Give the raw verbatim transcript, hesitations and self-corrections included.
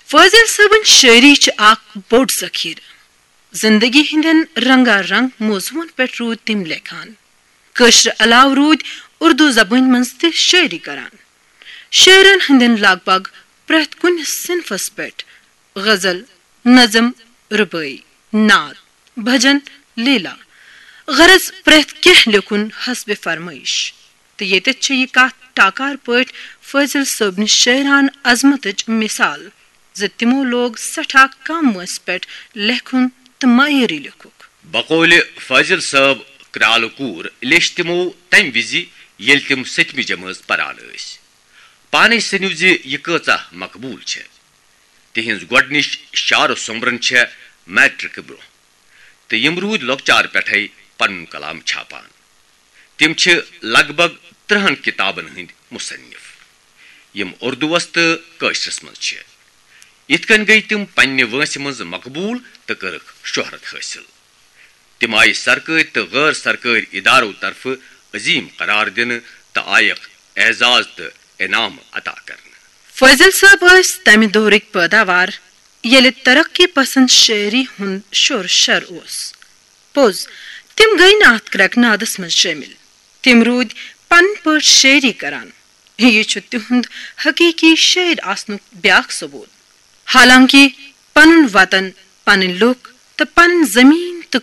فٲضل صٲبٕنۍ شٲعری چھِ اکھ بوٚڑ ذخیرٕ۔ زندگی ہٕنٛدٮ۪ن رنگا رنگ موضوعن پٮ۪ٹھ روٗدۍ تِم لیکھان۔ کٲشرِ علاوٕ روٗدۍ اردو زبٲنۍ منٛز تہِ شٲعری کران۔ شٲعرن ہٕنٛدٮ۪ن لگ بگ پرٛٮ۪تھ کُنہِ صنفس پٮ۪ٹھ غزل، نظم، ربٲعی، نعت، بھجن، لیلا، غرض پرٛٮ۪تھ کینٛہہ لیکھُن حسبِ فرمٲیش۔ تہٕ ییٚتٮ۪تھ چھِ یہِ کتھ ٹاکار پٲٹھۍ فٲضل صٲبنہِ شٲعرانہٕ عظمتٕچ مثال زِ تِمو لوگ سٮ۪ٹھاہ کم وٲنٛسہِ پٮ۪ٹھ لیکھُن تہٕ معیٲری لیکھُکھ۔ بقولِ فٲضل صٲب کرالہٕ کوٗر لیچھ تِمو تمہِ وِزِ، ییٚلہِ تِم سٔتمہِ جمٲژ پران ٲسۍ۔ پانے سٔنِو زِ یہِ کۭژاہ مقبوٗل چھےٚ۔ تِہنٛز گۄڈٕنِچ شعر و سومبرن چھےٚ میٹرک برونٛہہ، تہٕ یِم روٗدۍ لۄکچار پٮ۪ٹھے پنُن کلام چھاپان۔ تِم چھِ لگ بگ ترٕہن کتابن ہٕنٛدۍ مصنف، یِم اردوس تہٕ کٲشرس منٛز چھِ۔ یِتھ کٔنۍ گٔیۍ تِم پننہِ وٲنٛسہِ منٛز مقبوٗل تہٕ کٔرٕکھ شہرت حٲصِل۔ تِم آیہِ سرکٲرۍ تہٕ غٲر سرکٲرۍ ادارو طرفہٕ عظیم قرار دِنہٕ تہٕ آیکھ اعزاز تہٕ انعام عطا کرنہٕ۔ فٲضل صٲب ٲسۍ تمہِ دورٕکۍ پٲداوار، ییٚلہِ ترقی پسند شٲعری ہُنٛد شور شر اوس۔ پوٚز، تِم گٔیۍ نہٕ اتھ کرٛٮ۪کہٕ نادس منٛز شٲمِل۔ تِم روٗدۍ پنٕنۍ پٲٹھۍ شٲعری کران۔ یہِ چھُ تِہُنٛد حقیقی شٲعر آسنُک بیاکھ ثبوت۔ حالانکہ پنُن وطن، پنٕنۍ لوٗکھ تہٕ پنٕنۍ زمین